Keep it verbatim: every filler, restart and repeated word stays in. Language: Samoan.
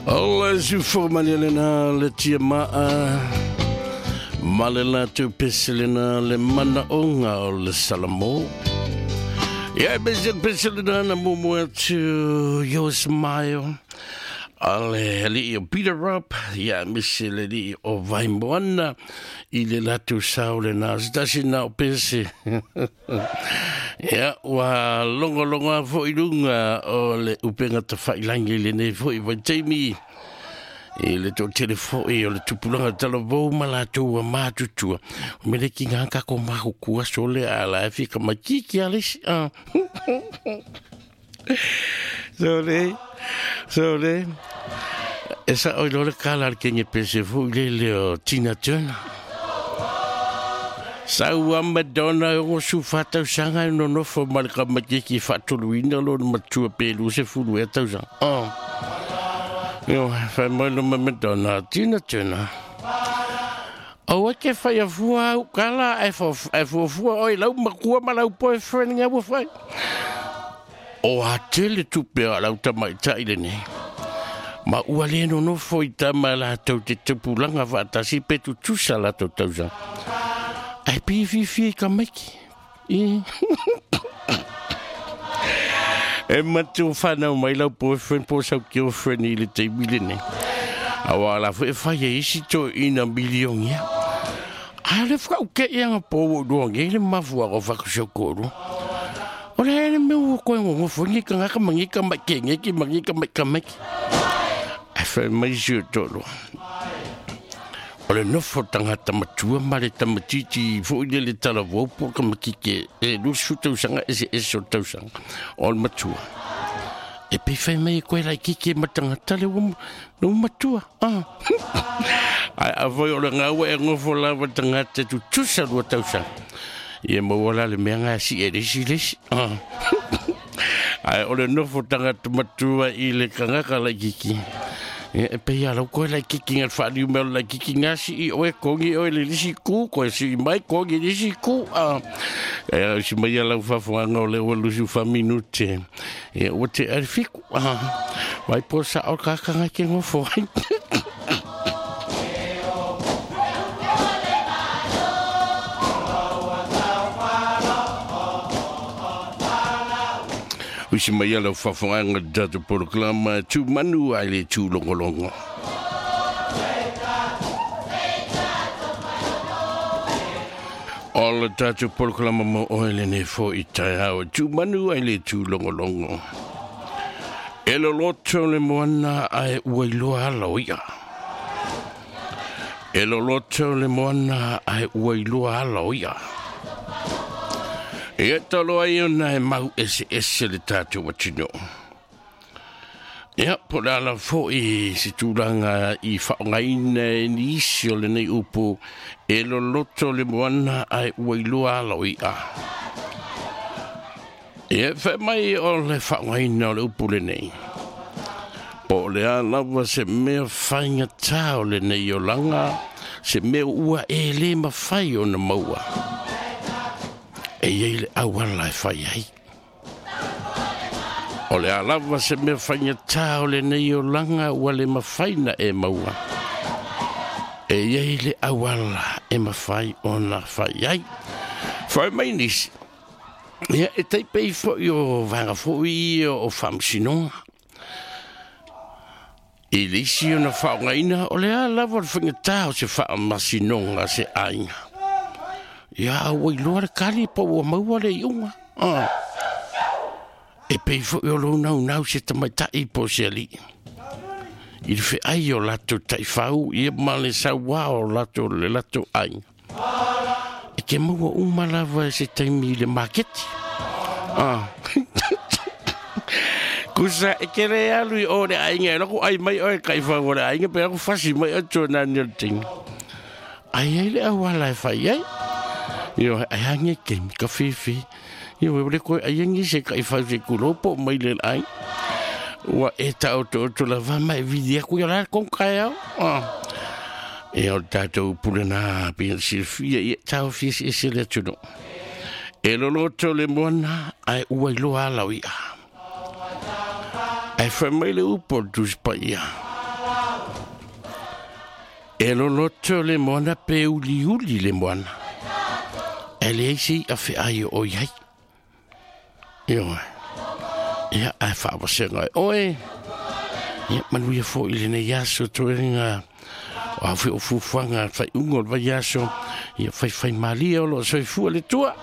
O le sufo lena le tia maa ma le latou pese lena le manaoga o le Salamo. Ia e pese pese lena na mumu atu Your Smile a le alii o Peter Robb, ia misi le alii o Vaimoana i le latou sao lena se tasi na o pese. Ia ua logologo fo'i luga o le upega tafailagi lenei fo'i vaitaimi i le toatele fo'i o le tupulaga talavou ma latou ua matutua. O mea le kiga kako makuku aso lea a la e fia kamaitiki a le isi. Sole, sole. E sa oi lo le kala le kenge pese fo'i le le o Tina Turner. Sau a Madonna e o su whatau sanga e nonofo ma le kamatiki whaatoluina lo na matua pelu se fulu e tausanga. Oh. Io, whai mai lo ma Madonna, Tina Turner. O e ke whai a fua au kala e fuafua oi lau makua ma lau boyfriend ngā ua whai. O a tele tupe a lau tamaitai lenei. Ma ua le nonofo i tama latou te tupulaga faatasi pe tutusa latou tausaga. Ai pi fifi ka maiki. I. E matu whanau mai lau boyfriend po sau girlfriend i le taimi lenei. Aua la fo e whai e isi to ina milion ia. A le whakau ke ia ngā po o lua nge le mafua o whakusau kōru. O le hele me ua koe ngongofo ngi ka ngaka mangi ka mai ke nge ki mangi ka mai ka mai. Ai whai mai si o tolo. O le nofo tangata matua ma le tamatiti fo'i le le talavou po ka makike e lusu tausaga ese ese o tausaga o le matua. E pe fai mai koe lai kike ma tangata le ua no matua. Ah. Ai a foi o le ngaua e ngofo lava tangata tutusa lua tausaga. Ia maua la le mea ngā si e lesi lesi. Ah. Ai o le nofo tangata matua i le kangaka lai kiki. E pe ia lau koe lai kiki ngā whaaniu mea lai kiki ngā si i oe kongi oe le lisi ku, koe si i mai kongi lisi ku. Ah. E si mai ia lau whafuanga o le ua lusu wha minute. E ua te arifiku. Ah. Mai po sa o kakanga ke ngofo. Usi mai ala whawhanga tātou poroklama tū manu ai le tū longolongo. O le tātou poroklama mo oe lenei fo'i taeao tū manu ai le tū longolongo. E loloto le moana ai ua iloa ala o ia. E loloto le moana ai ua iloa ala o ia. E talo ai ona e mau ese ese le tātou atino. Ia, po le ala fo'i se tulaga i whaongaina e nisi o lenei upu e loloto le moana ai ua iloa ala o ia. Ia, whae mai o le whaongaina o le upu lenei. Po le a lava se mea whaingatā o lenei o langa, se mea ua e le mawhai o na maua. E iei le awala e whai ai. O le alava se mea whaingatā o lenei o langa ua le mawhaina e maua. E iei le awala e mawhai o na whai ai. Whai mai nisi. Ia e teipei fo'i o vanga fo'i o whamsinonga. I le isi o na whaongaina o le alava o le whaingatā o se whaamasinonga se ainga. Ia ua iloa le kali pa ua maua le iunga. Ah. E pei fo'i o lou naunau se tamaitai po se alii. I le feai o latou taifau ia ma le sauā o latou le latou aiga. E ke maua uma lava e se taimi i le maketi. Ah. Kusa e ke le alu i o le aiga e loko ai mai oe kaifau o le aiga pe lako fasi mai o tōnani o le tinga. Ai ai le auala e whai ai. Io ai hange ke ka fifi. Io e le koe ai angi se ka i whau se kulopo mai le ai. Ua e ta o to to la va mai vidi aku ia la kon kai au. Ah. E o tātou pulena pia silfia i tau fia se se le tuno. E loloto le moana ai ua iloa ala o ia. Ai whai mai le upo tu spa ia. E loloto le moana pe uliuli le moana. E leai se i'a fe'ai o oe ai. Ioe. Ia, ae fa'avasega e oe. Ia, manuia fo'i lenei aso toega o a foi o fuafuaga fai'uga o le vaiaso. Ia faifaimalie o lo'o soifua le Atua.